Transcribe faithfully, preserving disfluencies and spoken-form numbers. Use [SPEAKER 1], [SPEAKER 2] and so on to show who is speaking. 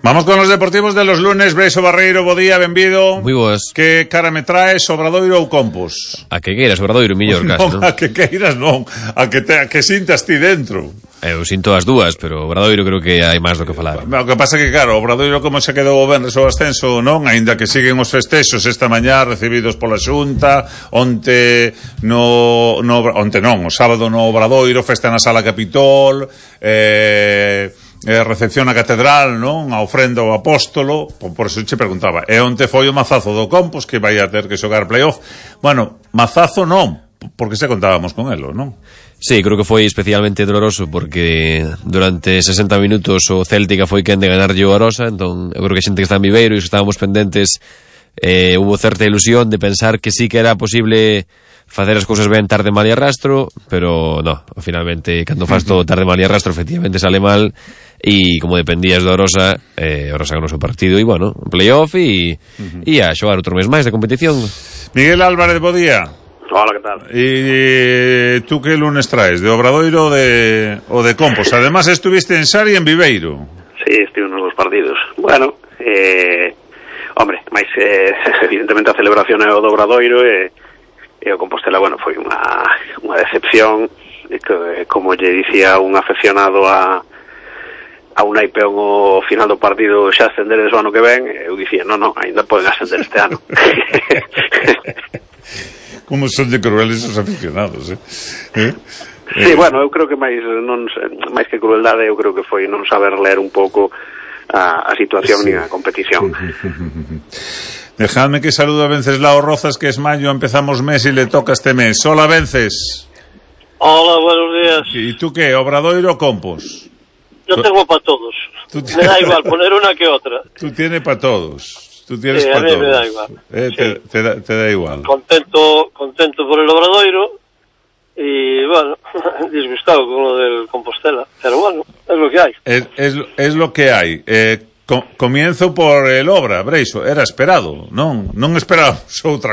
[SPEAKER 1] Vamos con los deportivos de los lunes. Breixo Barreiro, bo día, benvido.
[SPEAKER 2] Moi boas.
[SPEAKER 1] Que cara me traes, Obradoiro ou Compos?
[SPEAKER 2] A que queiras, Obradoiro, millor caso,
[SPEAKER 1] non,
[SPEAKER 2] non?
[SPEAKER 1] a que queiras non, a que, te, a que sintas ti dentro.
[SPEAKER 2] Eu sinto as dúas, pero Obradoiro creo que hai máis do que falar.
[SPEAKER 1] O que pasa que, claro, Obradoiro como se quedou o venres o ascenso, non? Aínda que siguen os festexos esta mañá recibidos pola Xunta, onte no, no onte non, o sábado no Obradoiro, festa na Sala Capitol, eh... Eh, recepción a catedral, non? A ofrenda ao apóstolo, por, por eso che preguntaba. E onte foi o mazazo do Compos, que vai a ter que xogar playoff. Bueno, mazazo non, porque se contábamos con elo, non?
[SPEAKER 2] Sí, creo que foi especialmente doloroso porque durante sesenta minutos o Céltica foi quen de ganarlle o Arosa, entón eu creo que a xente que está en Viveiro e estábamos pendentes, eh, hubo certa ilusión de pensar que sí que era posible facer as cousas ben tarde, mal e arrastro, pero no, finalmente cando faz todo tarde, mal e arrastro efectivamente sale mal. E como dependías do Orosa, eh, Orosa ganou o seu partido e, bueno, playoff e, uh-huh. e a xogar outro mes máis de competición.
[SPEAKER 1] Miguel Álvarez, bo día.
[SPEAKER 3] Hola, que tal?
[SPEAKER 1] E tú que lunes traes, de Obradoiro de, o de Compos? Además estuviste en Sari e en Viveiro.
[SPEAKER 3] Sí, estive nos dos partidos. Bueno, eh, hombre, máis eh, evidentemente a celebración é o do Obradoiro e, e o Compostela, bueno, foi unha, unha decepción que, como lle dicía un afeccionado a a un naipeón o final do partido xa ascenderes o ano que ven, eu dicía, non, non, ainda poden ascender este ano.
[SPEAKER 1] Como son de crueles os aficionados, eh? eh?
[SPEAKER 3] Sí, eh. Bueno, eu creo que máis non máis que crueldade, eu creo que foi non saber ler un pouco a, a situación sí. Ni a competición.
[SPEAKER 1] Dejadme que saludo a Venceslao Rozas, que es mayo, empezamos mes y le toca este mes. Hola, Vences.
[SPEAKER 4] Hola, buenos días.
[SPEAKER 1] ¿Y tú qué, Obradoiro o Compos?
[SPEAKER 4] Yo tengo para todos.
[SPEAKER 1] Tienes...
[SPEAKER 4] Me da igual poner una que otra.
[SPEAKER 1] Tú tienes para todos. Tú tienes
[SPEAKER 4] sí,
[SPEAKER 1] para
[SPEAKER 4] a mí
[SPEAKER 1] todos.
[SPEAKER 4] me da igual.
[SPEAKER 1] Eh,
[SPEAKER 4] sí.
[SPEAKER 1] te, te, da, te da igual.
[SPEAKER 4] Contento, contento por el Obradoiro y bueno, disgustado con lo del Compostela. Pero bueno, es lo que hay.
[SPEAKER 1] Es, es, es lo que hay. Eh, com, comienzo por el Obra, Breixo. Era esperado, non? Non esperábamos outra cosa.